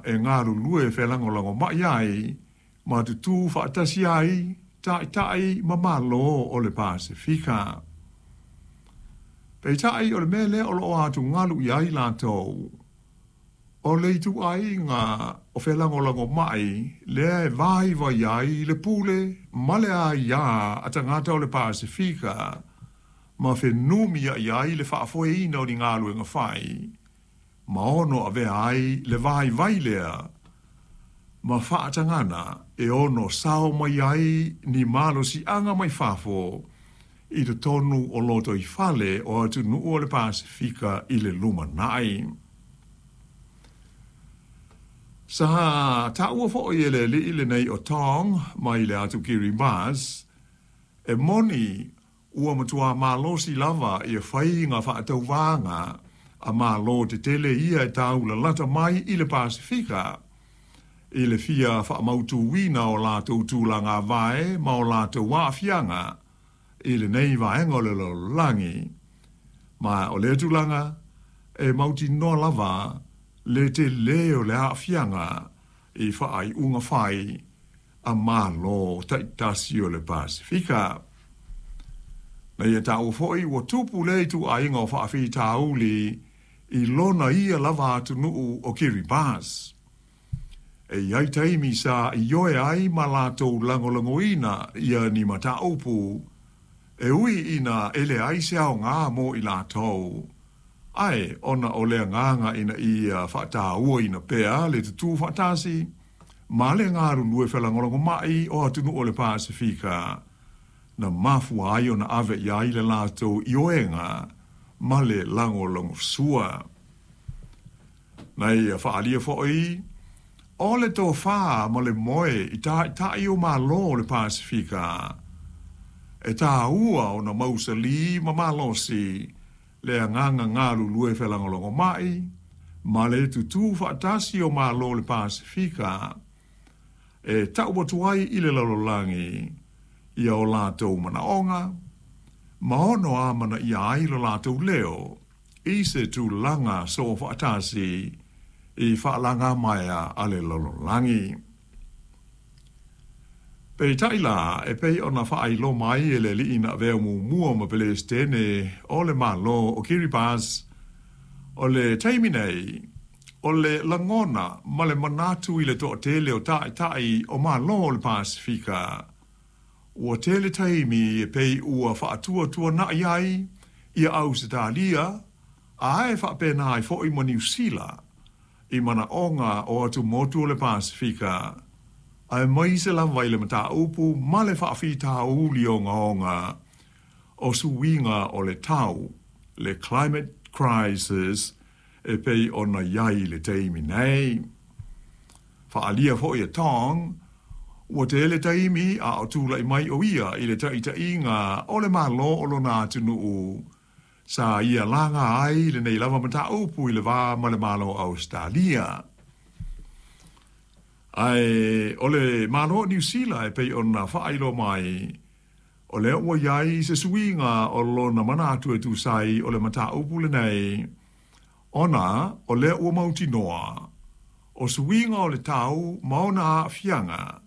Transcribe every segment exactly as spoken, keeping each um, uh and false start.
e galulue felagolagomai ai ma tutū faatasi ai taitai ma Malo o le Pasefika. Peitai o le mea lea o loo atugalu i ai latou, o le ituaiga o felagolagomai lea e vaivai ai le pule ma le aiā a tagata o le Pasefika ma fenumiai ai le faafoeina o ni galuega fai ma ono avea ai le vaivai lea ma faatagana e ono sao mai ai ni malosiaga mai fafo i totonu o lotoifale o atunuu o le Pasefika i le lumanai. Sa taua foʻi e le alii lenei o Tong mai le atu Kiribati, e moni ua matuā malosi lava ia faiga faatauvaga a Malo tetele ia e taulalata mai i le Pasefika i le fia faamautuina o latou tulaga vae ma o latou aafiaga i lenei vaega o le lalolagi. Ma o lea tulaga e mautinoa lava le telē o le aafiaga i faaiuga fai a Malo taitasi o le Pasefika. Na ia taua foʻi ua tupu lea ituaiga o faafitauli i lona ia lava atunuu o Kiribati. E i ai taimi sa ioe ai ma latou lagolagoina ia ni mataupu e ui ina e leai se aogā mo i latou, ae ona o le agaga ina ia faatauaina pea le tutū faatasi ma le galulue felagolagomai o atunuu o le Pasefika na mafua ai ona ave i ai le latou ioega ma le lagolagosua. Na ia faaalia foʻi o le tofā ma le moe i taitai o Malo o le Pasefika e tāua ona mausalī ma malosi le agaga galulue felagolagomai ma le tutū faatasi o Malo o le Pasefika e tau atu ai i le lalolagi ia o latou manaoga ma ono amanaia ai lo latou leo i se tulaga soofaatasi i faalagamaea a le lalolagi. Peitai la e pei ona faailoa mai e le alii na avea muamua ma Peresetene o le Malo o Kiribati, o le taimi nei, o le lagona ma le manatu i le toatele o taitai o Malo o le Pasefika, ua tele taimi e pei ua faatuatuanai ai ia Ausetalia ae faapena ai foʻi ma Niusila i manaoga o atumotu o le Pasefika, aemaise lava i le mataupu ma le faafitauli ogaoga o suiga o le tau, le climate crisis e pei ona i ai i le taimi nei. Faaalia foʻi e Tong, ua tele taimi a o tulai mai o ia i le taitaiga o le Malo o lona atunuu sa ia laga ai lenei lava mataupu i le va ma le Malo o Ausetalia. Ae o le Malo o Niusila e pei ona faailoa mai, o lea ua i ai se suiga o lona manatu e tusa ai o le mataupu lenei, ona o lea ua mautinoa o suiga o le tau ma ona aafiaga,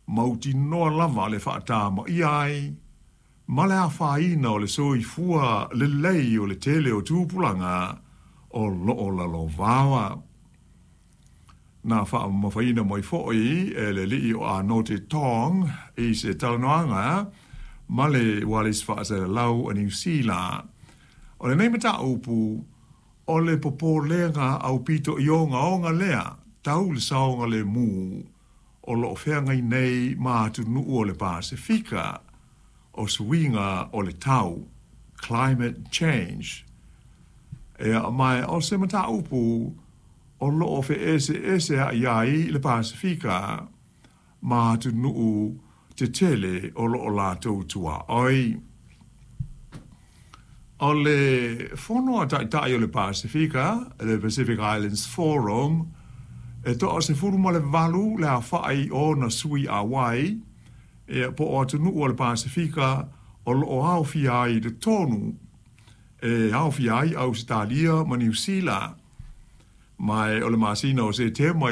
mautinoa lava le faatamaia ai ma le afaina o le soifua lelei o le tele o tupulaga o loo lalovaoa. Na faamamafaina mai foʻi e le alii o Anote Tong i se talanoaga ma le ualesi faasalalau a Niusila, o lenei mataupu o le popolega aupito i ogaoga lea tau le saogalemu o loo feagai nei ma atunuu o le Pasefika o suiga o le tau, climate change. Ea mae o se mataupu o loo feeseeseaʻi ai le Pasefika ma atunuu tetele o loo latou tuaoi. O le Fono a Taitai o le Pasefika, le Pacific Islands Forum, e toasefulu ma le valu le aofaʻi o ona sui auai e po o atunuu o le Pasefika o loo aofia ai i totonu e aofia ai Ausetalia ma Niusila. Ma o le masina o Setema